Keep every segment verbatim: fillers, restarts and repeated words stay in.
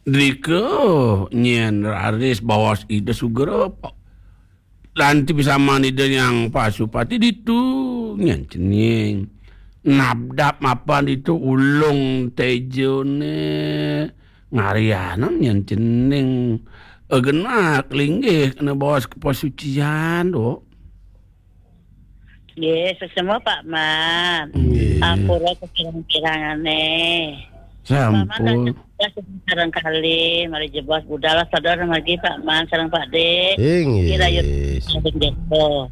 Drika nyen raris baos Ida sugra. Lan ti pisaman Ida Hyang Pasupati ditu nyen cening. Nabdap mapan ditu ulung tejane ngarianang nyen cening. Genak linggih kena baos ke pasucian, Dok. Nggih, sesama Pak Man. Nggih. Ampura kepirang-pirangane. Sampun. Pak Man, sareng kali, mari jebos budal sadar margi Pak Man sareng Pak De. Inggih. Kira yut sareng Jeko.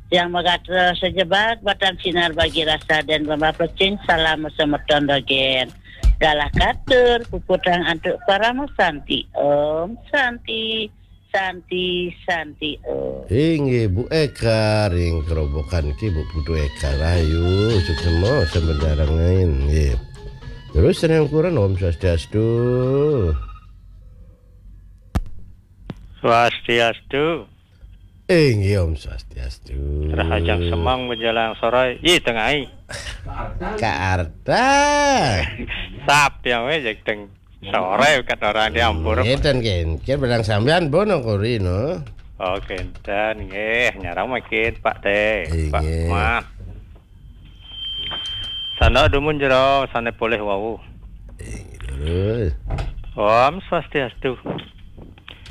Yang magatra sejebak batan sinar bagi rasa dan bamba pecing salam semeton dogen. Galah katur puputang antuk parama santi. Om Santi. Santi, Santi, oh. Inggih, Bu Eka ring kerobokan ki, Bu Putu Eka Rayu, suksma sambedarangain, nggih. Terus ring ukuran Om Swastiastu. Swastiastu. Inggih, Om Swastiastu. Rahajeng semeng menjelang sore. Ih, tengai. Kaarta. Sap yang weh, jeg teng. Sore kat orang di Ampura. Ngeten, ken. Ken barang sampean bono kori, no? Oh, kenten, nggih. Nyarang makin, Pak Teh. Inggih. Pak Mas. Sandok dumun jero, sane polih wau. Inggih, terus. Om Swastiastu.